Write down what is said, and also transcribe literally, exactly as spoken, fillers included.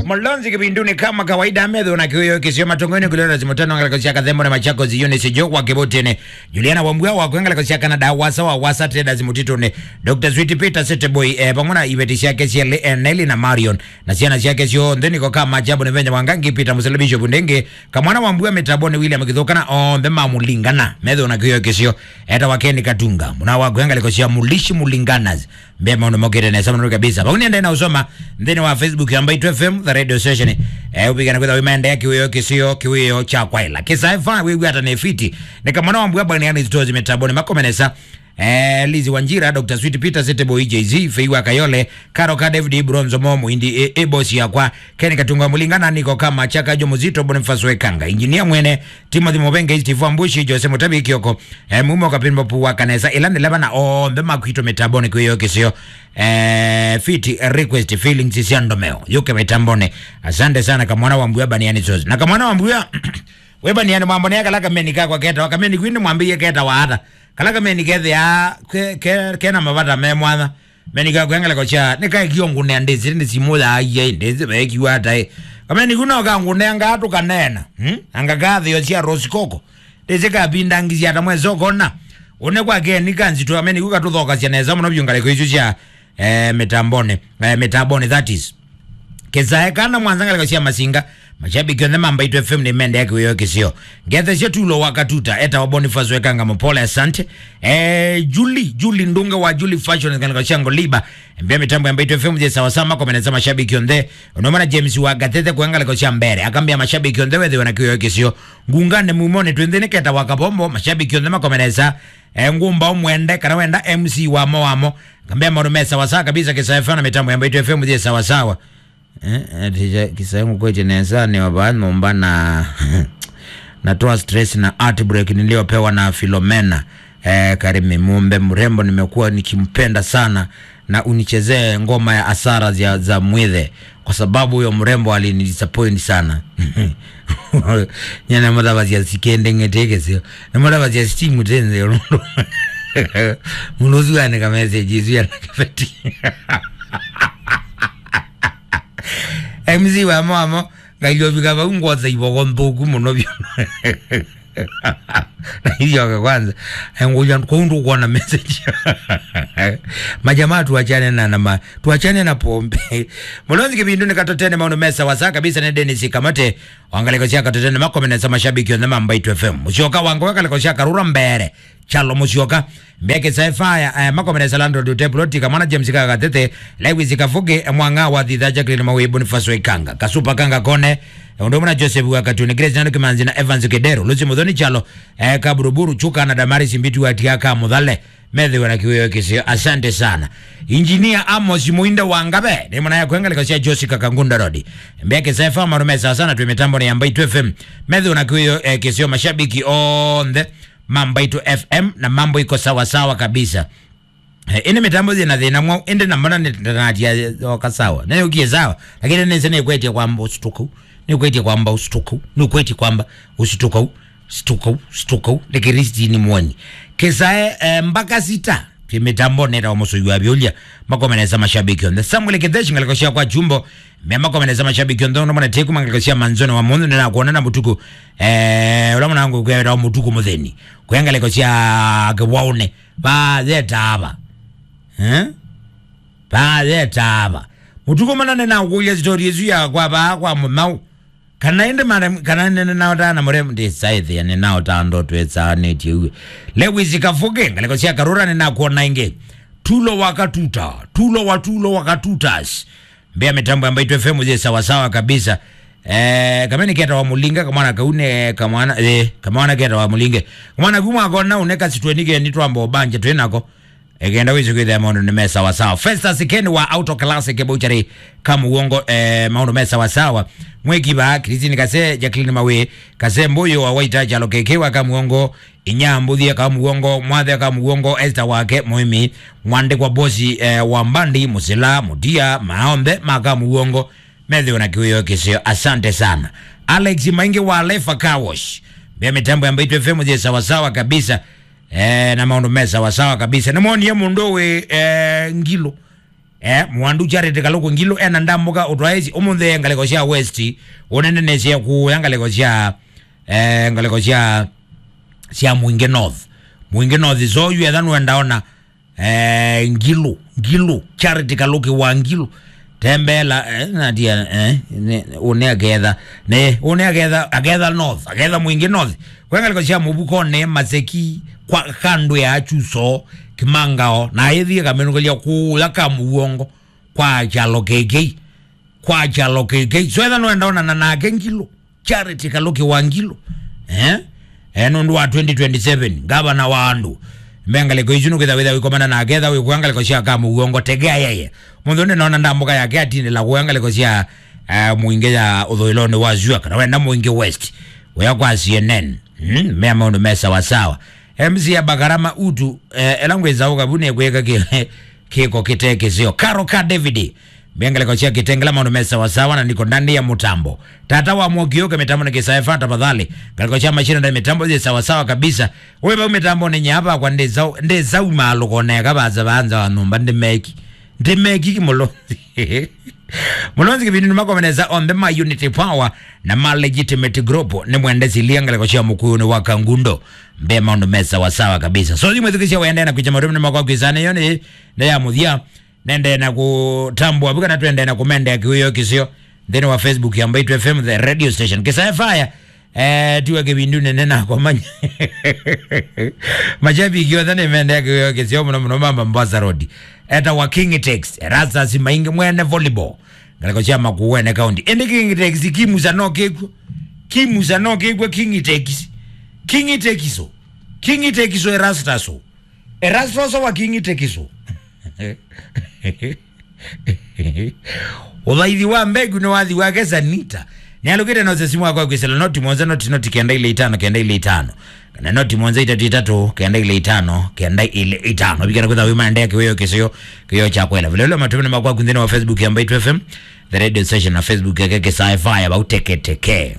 Mulonzi kĩvindunĩ kama kawaida, metho na kĩwĩo kĩsio matongoni kulera zimutano ngaleko cia Kathembo na Machakos, Eunice Joe wa Kĩvũtĩnĩ, Juliana Wambua wa kwengaleko cia Canada, Wasa wa Wasa Traders Mũtitũnĩ, Doctor Sweet Peter Seteboy, eh, vamwe na iveti ciake cia Le-, eh, Nelly na Marion, na syana syake syonthe niko kama ajabu nĩ venya wa Ngangi Peter Musele Bishop Ndenge, Kamwana wa Mbua mĩtamboni William Kĩthũka na onthe mamũlingana, metho na kĩwĩo kĩsio, eta wa Ken Katunga, mũna wa kwengaleko cia Mulishi Mulinganas, mbe maũndũ mokĩte nesa mũno kabisa. Vau nĩendae na ũsoma nthĩnĩ wa Facebook ya Mbaitu F M, the radio station. Eh, ũvika na kwĩtha wĩmaendea kĩwĩo kĩsio, kĩwĩo kya kwaĩla. Kĩsae fa, wĩw'a ata nĩ fiti. Nĩ Kamwana wa Mbua bani yani stores mĩtamboni makomenesa. Eh, Lizi Wanjira, Doctor Sweet Peter, Seteboy J Z, Fei wa Kayole, Karo ka David Bronzo Mo, Muindi, e, e boss yakwa, Ken Katunga Mulinga, na niko kama Chaka Jo Muzito, Boniface Wekanga, Engineer Mwene, Timothy Mubenge, Steve Ambushi, Jose Mutabi Kioko, eh, Mumo Kapimba Pu wa Kanesa, Ilani Leba na onthe makwito mĩtamboni kwĩyo kĩsio. Eh, fiti, eh, request, feelings cia ndomeo. Yuke mĩtamboni. Asante sana, Kamwana wa Mbua baniani sos. Na Kamwana wa Mbua, we baniani mambo ne kala kameni kakwa keta, wa kameni kwini mwambie keta wa ata. Kala kameni kethĩa ke, ke, kena mavata me mwanya. Meni ka kwengeleko cha, nĩ kaekio ngunea ndĩsĩ, nĩ simũ ya aia, ndĩsĩ vekiwa ata ĩ. Kameni kuna ka ngunea ngatu kanena, hmm? Anga kathĩo cia Rosikoko. Ndĩsĩ kapindangithya ata mwesokona. Une kwa keni kanzitũ, kameni kuka tũthokasya nesa mũno vyũ ngaleko isu cia, eh, mĩtamboni, eh, mĩtamboni, that is. Kĩsae kana mwanza ngaleko cia Masinga, mashabiki onthe ma Mbaitu F M nĩmendea kĩwĩo kĩsio. Ngethesya Tulo wa Katuta, eta wa Boniface Wekanga Mupole, asante. Eh, Julie, Julie Ndunge wa Julie Fashion, ngaleko cia Ngoliba. Mbia mĩtambo ya Mbaitu F M je sawa sawa, makomenesa mashabiki onthe. Unomana James wa Gatete kwa ngaleko cia mbere. Akambia mashabiki onthe wethiwe na kĩwĩo kĩsio. Ngungane mumone twĩnthĩnĩ keta wa Kabombo, mashabiki onthe makomenesa. Eh, ngumba umwende, kana wenda M C wa mo wa mo. Akambia maũndũ me sawa sawa kabisa, Kĩsae F M na mĩtambo ya Mbaitu F M je sawa sawa. Eh, ati ja-, Kĩsae ngũkwete nesa nĩ wa vaa nyũmba na natoa stress na heartbreak niliyopewa na Filomena. Eh, Karimi Mumbe mrembo, nimekuwa nikimpenda sana na unichezee ngoma ya hasara za, za Mwithe kwa sababu huyo mrembo alinidisappoint sana. Nyana mothavasya sikendeng'ete kĩsio. Na mothavasya steam tenze. Mũndũ ũsu anĩka message isu ya nakabeti. M C wa mama, ngailio vika vau ngotha ivoko nthũku mũno vyũ. Na ilioke kwanza, ngũja kũu ndũkuona message. Majamaa, tuachane na, na ma-, tuachane na pombe. Mulonzi kĩvindu nĩ Katotene, maũndũ me sawa sawa kabisa, nĩ Dennis Kamate. Wangaleko cia Katotene makomenesa mashabiki onthe ma Mbaitu F M. Mũsyoka wangu wakaleko cia Karura mbere. Chalo Musyoka, Mbeke Saifaya, eh, makomeresa Landlord Hotel Plot, Kamwana James Kagatete, Lewis Kafuge, eh, Mwanga wa Thitha, Jacqueline Mawe, Boniface Waikanga, Kasupa Kanga Kone, eh, ũndũ ũmwe na Joseph wa Katuni, Grace Nano Kimanzi na Evans Kedero, Lucy Muthoni Chalo, eh, Kaburuburu, Chuka na Damaris Mbitu wa Tiaka Muthale, methiwe na kĩwĩo kĩsio. Asante sana. Engineer Amos Muinda wa Ngabe, nĩ mwana ya kwengaleka cia Josi Kakangunda Road. Mbeke Saifa, marume sawa sana, twĩ mĩtambo ya Mbaitu F M. Methiwe na kĩwĩo, eh, kĩsio, mashabiki onthe. Mambo ito F M na mambo iko sawa sawa kabisa. Eh, ĩndĩ mĩtambo yĩna thĩna mwaũ, ĩndĩ na mbona nĩtanatia yoka sawa. Nĩyũkie sawa, lakini nĩsĩ nĩkwĩtie kwamba ũsituku, nĩkwĩtie kwamba ũsituku, nĩkwĩtie kwamba ũsituku, situku, situku, nĩ Kristi nĩ mwoni. Kĩsae, eh, mpaka sita, twĩ mĩtambo neta wa mũsũi wa vyũlya, makomenesa mashabiki onthe. Samuel Kĩtheshi ngaleko cia kwa Chumbo, me makomenesa mashabiki onthe, ũndũ mwana teku mangaleko cia manzoni wa mũndũ, nĩnakuona na mũtuku, eh, ũla mwanangu kwĩweta wa mũtuku mũtheni. Kwĩ ngaleko sya kĩwaũnĩ. Vatheta ava. Eh? Vatheta ava. Mũtuku mũna nĩnakũlya story ĩsu ya kwa vaa kwa mũmau. Kana ĩndĩ mara, kana nĩnaotaa na mũremũ ndĩsaĩthĩa nĩnaotaa ndoto ĩsaanĩtye uwe. Lewis Kafuge, ngaleko sya Karura nĩnakuona ĩngĩ. Tulo wa Katuta, Tulo wa Tulo wa Katutas. Mbea mĩtambo ya Mbaitu F M yĩ sawa sawa kabisa. Eh, kameni keta wa Mulinga, kamwana kaune, kamwana, eh, kamwana keta wa Mulinge. Kamwana kuma kona une kasitwe nige ni twamba banje twinako. Ekenda wizo kwithia maũndũ nĩ me sawa sawa. Festus Ken wa Auto Classic Butchery, Kamuongo, eh, maũndũ me sawa sawa. Mweki ba Christine Kase, Jacqueline Mawe, Kase Mbuyu wa Waita, Chalo Keke wa Kamuongo, Inya Mbuthie Kamuongo, Mwathe Kamuongo, Esther Wake, Muimi, Mwandĩkwa Bosi, eh, wa Mbandi, Musila, Mutia, maonthe ma Kamuongo, methiwe na kĩwĩo kĩseo. Asante sana. Alex Maingi wa Lefa Car Wash. Mbea mĩtambo ya Mbaitu F M yĩ sawa sawa kabisa. Eh, na maũndũ me sawa sawa kabisa. Nĩmwonie mũndũ wĩ, eh, Ngilo. Eh, Mwandu Charity Kaluku Ngilu ena ndambuka ũtwaĩsi ũmũnthĩ ngalĩko sya West, ũnendenesye kũya ngalĩko sya, eh, ngalĩko sya, sya Mwingi North. Mwingi North, so yu etha nũenda ona, eh, Ngilu, Ngilu, Charity Kaluki wa Ngilu. Tembela, eh, natia, eh, ne, ũne aketha, ne, ũne aketha, aketha North, aketha Mwingi North. Kwa ngalĩko sya Mũvuko ne Maseki, kwa kando ya Chuso, Kimangao, na ĩthi ĩkamĩnũkĩlya kũya ka mũuongo, kwa kyalo kĩkĩ, kwa kyalo kĩkĩ. So etha nũenda onana nake Ngilu, Charity Kaluki wa Ngilu. Eh? Eh, nũndũ wa twenty twenty-seven, ngavana wa andũ. Mbe ngalĩko isu nũkĩtha wĩtha wĩkomana nake, etha wĩkũya ngalĩko sya ka mũuongo, tegea yeye. Mũnthĩ ũnĩ nona ndambuka yake atindĩla kũya ngalĩko sya, eh, Mwingi ya ũthũĩlonĩ wa Zua, kana wenda Mwingi West. Ũya kwa C N N. Mm, mea maũndũ me sawasawa. M C ya Bagarama Utu, eh, ela ngwĩsa ũkavu nĩkwĩka kĩ-, kĩko kĩte kĩseo. Karo ka David, mbe ngalĩko sya Kitengela maũndũ me sawasawa na niko ndani ya mũtambo. Tata wa Mwoki ũke mĩtambo nĩ kĩsaefa tafadhali. Ngalĩko sya machine ndani mĩtambo yĩ sawasawa kabisa. Ũĩ vau mĩtambo nĩ nyava kwa ndĩsau, ndĩsau malũko neka vaza vanza wa nyũmba ndĩmeki. Ndĩmeki ki Mũlũnzi. Mũlũnzi kĩvindunĩ makomenesa onthe ma Unity Power na ma Legitimate Group nĩ mwendesilia ngalĩko sya mũkũyũnĩ wa Kangundo. Mbe maũndũ me sawasawa kabisa. So, thimwĩthukĩsya wendee na kwĩkya maũndũ nĩ makwa kwĩsana yo nĩ, nĩ ya mũthya. Nendee na kũtambũa vu kana twendee na kũmendea kĩwĩo kĩseo nthĩnĩ wa Facebook ya Mbaitu F M, the radio station. Kĩsae Fire, eh, tiwe kĩvindu nene na komanya. Mashabiki othe nĩmendea kĩwĩo kĩseo mũno mũno mama Mombasa Road. Eta wa King Tex, Erastus Maingi mwene volleyball. Ngalĩko sya Makueni County. Ĩndĩ King Tex kimusa no kĩkw'o. Kimusa no kĩkw'o King Tex. King Tex o. King Tex o Erastus o. Erastus o wa King Tex o. Ũthaithi wa mbegu nĩ wathi wake Sanita. Nĩalũkĩte nose simu wakwa kwĩsĩla noti mũonza noti noti kenda ile itano kenda ile itano. Kana noti mũonza itatũ itatũ kenda ile itano kenda ile itano. Vikana kwĩtha wĩmaendea kĩwĩo kĩseo kĩwĩo kya kwela. Vile vile matumĩni makwa kunthĩnĩ wa Facebook ya Mbaitu F M, the radio station na Facebook yake Kĩsae Fire vau teketeke.